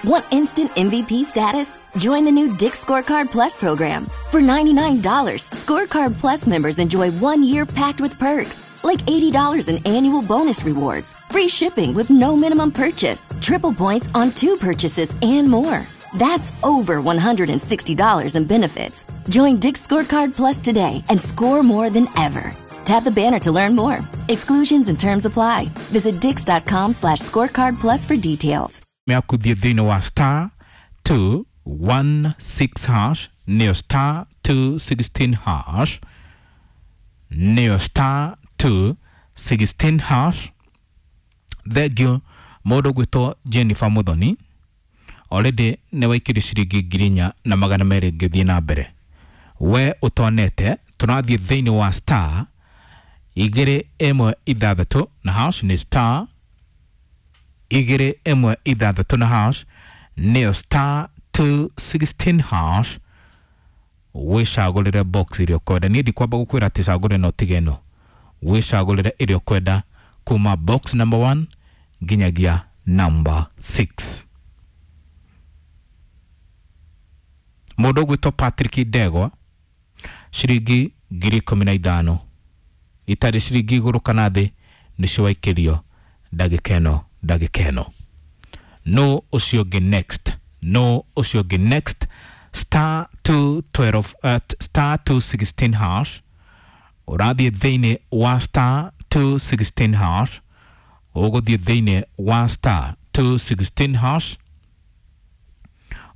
Want instant MVP status? Join the new Dick's Scorecard Plus program. For $99, Scorecard Plus members enjoy 1 year packed with perks, like $80 in annual bonus rewards, free shipping with no minimum purchase, triple points on two purchases, and more. That's over $160 in benefits. Join Dick's Scorecard Plus today and score more than ever. Tap the banner to learn more. Exclusions and terms apply. Visit dicks.com/scorecard plus for details. Yaku thiĩ thĩinĩ wa star 216 hash, nĩyo star 216 hash, nĩyo star 216 hash. Thengiũ mũndũ ũgwĩtwo Jennifer Muthoni, already nĩ waikĩrio ciringi 4,200. Ngĩthiĩ na mbere, we ũtonete, tũrathiĩ thĩinĩ wa star 216 na hash, nĩ star 216 na hash, nĩyo star 216 hash. Wĩcagũrĩre box ĩrĩa ũkwenda. Niĩ ndikwamba gũkwĩra atĩ cagũre no tige ĩno. Wĩcagũrĩre ĩrĩa ũkwenda kuma box number 1 nginyagia number 6. Mũndũ ũgwĩtwo Patrick Ndegwa, ciringi 15,000, itarĩ ciringi igũrũ kana thĩ, nĩcio waikĩrio ndagĩka ĩno, ndagĩka ĩno. No ũcio ũngĩ next, no ũcio ũngĩ next, star 212, star 216 hash. Ũrathiĩ thĩinĩ wa star 216 hash, ũgũthiĩ thĩinĩ wa star 216 hash,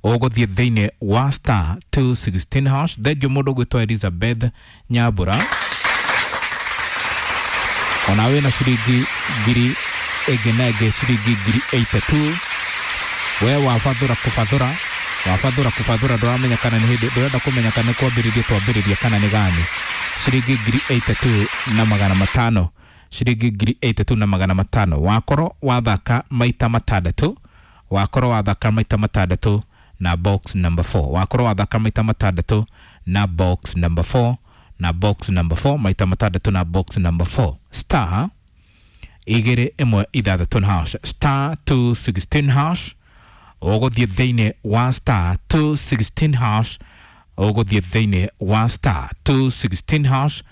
ũgũthiĩ thĩinĩ wa star 216 hash. Thengiũ mũndũ ũgwĩtwo Elizabeth Nyambura, ona wĩna ciringi ngiri ĩngĩ na ĩngĩ, ciringi 82,000. We wabathũra kũbathũra, wabathũra kũbathũra, ndũramenya kana nĩ hĩndĩ ndũrenda kũmenya kana nĩ kwambĩrĩria twambĩrĩria kana nĩ gani. Ciringi 82,500, ciringi 82,500. Wakorwo wathaka maita matandatũ, wakorwo wathaka maita matandatũ na box number 4, wakorwo wathaka maita matandatũ na box number 4, na box number 4, maita matandatũ na box number 4, star 216 na hash, star 216 hash. Ũgũthiĩ thĩinĩ wa star 216 hash, ũgũthiĩ thĩinĩ wa star 216 hash.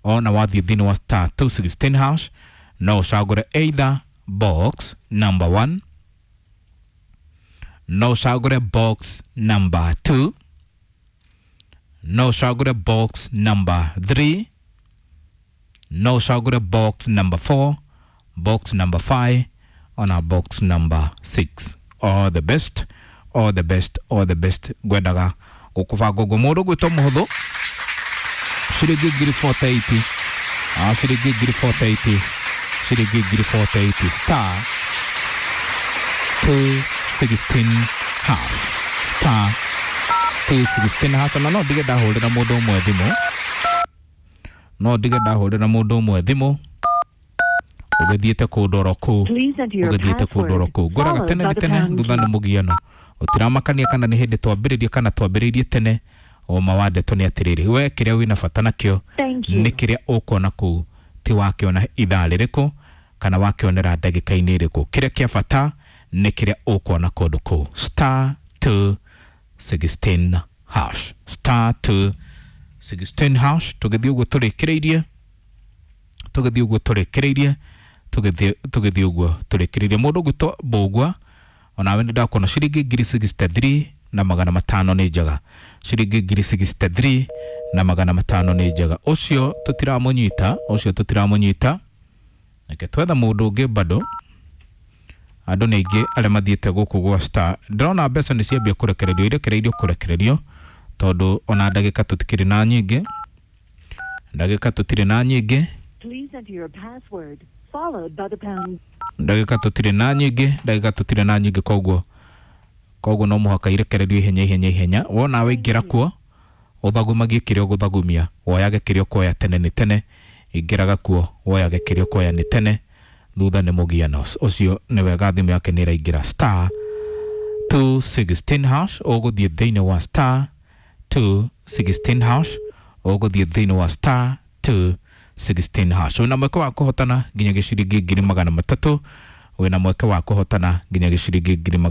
Ona wathiĩ thĩinĩ wa star 216 hash, no ũcagũre either box number 1, no ũcagũre box number 2, no ũcagũre box number 3, no ũcagũre box number 4, box number 5, ona box number 6. All the best, all the best, all the best. Ngwendaga gũkũbanga ũguo. Mũndũ gwĩtwo mũhũthũ, ciringi 48,000, ciringi 48,000, ciringi 48,000, star 216 hash, star 216 hash. Na no ndige ndahũrĩra mũndũ ũmwe thimũ, no ndige ndahũrĩra mũndũ ũmwe thimũ ũgĩthiĩte kũndũ oro kũu, ũgĩthiĩte kũndũ oro kũu. Ngwĩraga tene nĩ tene, thutha nĩ mũgiano. Ũtiramakania kana nĩ hĩndĩ twambĩrĩria kana twambĩrĩirie tene. Ũma wa ndeto nĩ atĩrĩrĩ, we kĩrĩa wĩna bata nakĩo nĩ kĩrĩa ũkuona kũu, ti wakĩona ithaa rĩrĩkũ kana wakĩonera ndagĩka-inĩ ĩrĩkũ. Kĩrĩa kĩa bata nĩ kĩrĩa ũkuona kũndũ kũu. Star 216 hash, star 216 hash. Tũgĩthiĩ ũguo tũrĩkĩrĩirie, tũgĩthiĩ ũguo tũrĩkĩrĩirie, tũgĩthiĩ ũguo tũrĩkĩrĩirie. Mũndũ ũgwĩtwo Mbũgua, onawe nĩ ndakuona, ciringi 63,500 nĩ njega, ciringi 63,500 nĩ njega. Ũcio tũtiramũnyita, ũcio tũtiramũnyita. Reke twetha mũndũ ũngĩ bado. Andũ nĩ aingĩ arĩa mathiĩte gũkũ gwa star. Ndĩrona mbeca nĩ ciambia kũrekererio, irekereirio kũrekererio, tondũ ona ndagĩka tũtikĩrĩ na nyingĩ, ndagĩka tũtirĩ na nyingĩ. Ndagĩka tũtirĩ na nyingĩ, ndagĩka tũtirĩ na nyingĩ. Koguo no mũhaka irekererio ihenya, ihenya, ihenya. Wona waingĩra kuo, ũthagumagie kĩrĩa ũgũthagumia, woyage kĩrĩa ũkuoya. Tene nĩ tene. Ingĩraga kuo, woyage kĩrĩa ũkuoya, nĩ tene, thutha nĩ mũgiano. Ũcio nĩ wega, thimũ yake nĩ ĩraingĩra. Star 216 hash, ũgũthiĩ thĩinĩ wa star 216 hash, ũgũthiĩ thĩinĩ wa star 216 hash. Wĩna mweke wa kũhotana nginya gĩciringi 300,000. Wĩna mweke wa kũhotana nginya gĩciringi ngiri magana